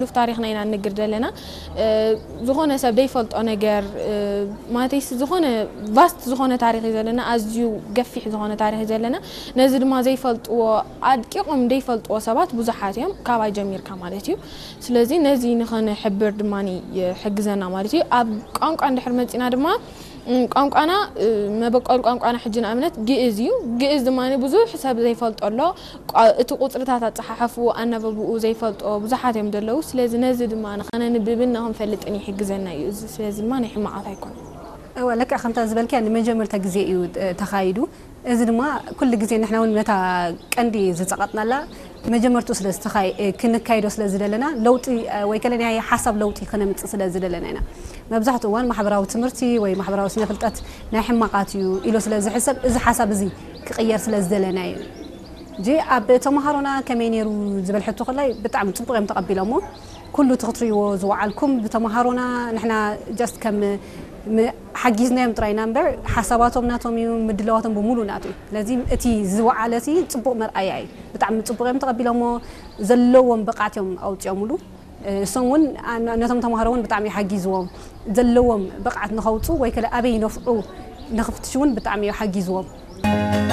ሉፍ ታሪኽና ኢና ንግር ዘለና። ዝኾነ ሰብ ዘይፈልጦ ነገር፣ ማለትስ ዝኾነ ቫስት ዝኾነ ታሪኽ እዩ ዘለና፣ ኣዝዩ ገፊሕ ዝኾነ ታሪኽ እዩ ዘለና። ነዚ ድማ ዘይፈልጥዎ፣ ኣድቂቖም ዘይፈልጥዎ ሰባት ብዙሓት እዮም፣ ካባይ ጀሚርካ ማለት እዩ። ስለዚ ነዚ ንኸነሕብር ድማ ይሕግዘና ማለት እዩ። ኣብ ቋንቋ እንድሕር መፂና ድማ ቋንቋና፣ መበቆል ቋንቋና ሕጂ ንኣብነት ግእዝ እዩ። ግእዝ ድማ ብዙሕ ሰብ ዘይፈልጦ ኣሎ። እቲ ቁፅርታት ኣፀሓሕፉ ኣነበብኡ ዘይፈልጦ ብዙሓት እዮም ዘለዉ። ስለዚ ነዚ ድማ ንኸነንብብን ንኽንፈልጥን ይሕግዘና እዩ። እዚ ስለዚ ድማ ናይ ሕማቓት ኣይኮነን። እወ፣ ለክዕ ከምታ ዝበልክያ ንመጀመርታ ግዜ እዩ ተኻይዱ። እዚ ድማ ኩሉ ግዜ ንሕና እውን ነታ ቀንዲ ዝፀቐጥናላ መጀመርቱ ስለ ዝተኻይ ክንካይዶ ስለ ዝደለና፣ ለውጢ ወይ ከለ ናይ ሓሳብ ለውጢ ከነምፅእ ስለ ዝደለና ኢና። መብዛሕትኡ እዋን ማሕበራዊ ትምህርቲ ወይ ማሕበራዊ ስነ ፍልጠት ናይ ሕማቓት እዩ ኢሉ ስለ ዝሕሰብ፣ እዚ ሓሳብ እዚ ክቕየር ስለ ዝደለና እዩ። ጂ ኣብ ተምሃሮና ከመይ ነይሩ ዝብል ሕቶ ከላይ ብጣዕሚ ፅቡቅ እዮም ተቐቢሎሞ። ኩሉ እቲ ክትርእይዎ ዝወዓልኩም ብተምሃሮና ንሕና just ከም ሓጊዝናዮም ጥራይና እምበር ሓሳባቶም ናቶም እዩ፣ ምድላዋቶም ብሙሉ ናቱ እዩ። ስለዚ እቲ ዝወዓለ እቲ ፅቡቅ መርኣያ እዩ። ብጣዕሚ ፅቡቅ እዮም ተቐቢሎሞ። ዘለዎም ብቕዓት እዮም ኣውፅኦምሉ። እሶም እውን ነቶም ተምሃሮ እውን ብጣዕሚ ሓጊዝዎም። ዘለዎም ብቕዓት ንኸውፁ ወይ ከለ ኣበይ ነፍዑ ንኽፍትሽ እውን ብጣዕሚ እዩ ሓጊዝዎም።